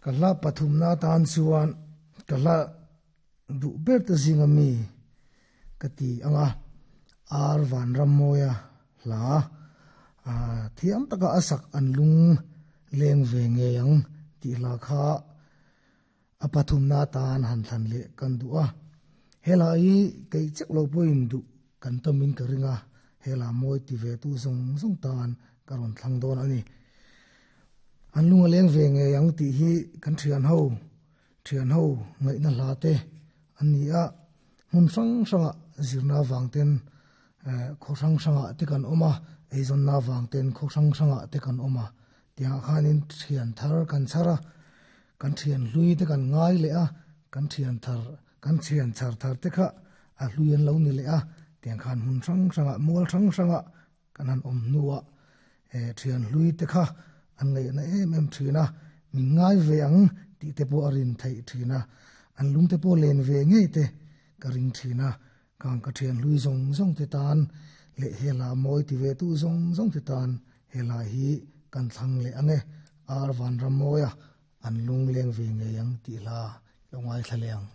Ka hla pathumna atan chuan ka hla duh ber te zinga mi ka ti ang a, Ar Vanrammawia hla thiam taka a sak an lung leng ve ngei ang tih hla kha a pathumna atan han thlan leh kan duh a. Hela hi kei chek lo pawhin duh kan tamin ka ring a, hela mawi ti ve tu zawng zawng tan ka rawn thlang dawn a ni. An lung a leng ve ngei ang tih hi kan thian ho, thian ho ngaihna hla te an ni a, hmun hrang hrangah zirna vang ten khaw hrang hrangah te kan awm a, eizawnna vang ten khaw hrang hrangah te kan awm a, tiangah khanin thian thar kan chhar a, kan thian hlui te kan ngai leh a, kan thian thar kan thian chhar thar te kha a hlui an lo ni leh a, tiang khan hmun hrang hrangah mual hrang hrangah Kan han awm hnuah thian hlui te kha an ngaihna em em thin a, min ngai ve ang tih te pawh a rin theih thin a, an lung te pawh len ve ngei te ka ring thin a, kang ka thian hlui zawng zawng te tan leh he hla mawi ti ve tu zawng zawng te tan he hla hi kan thlang leh ang e, Ar Vanrammawia an lung leng ve ngei ang tih hla lo ngaithla leh ang.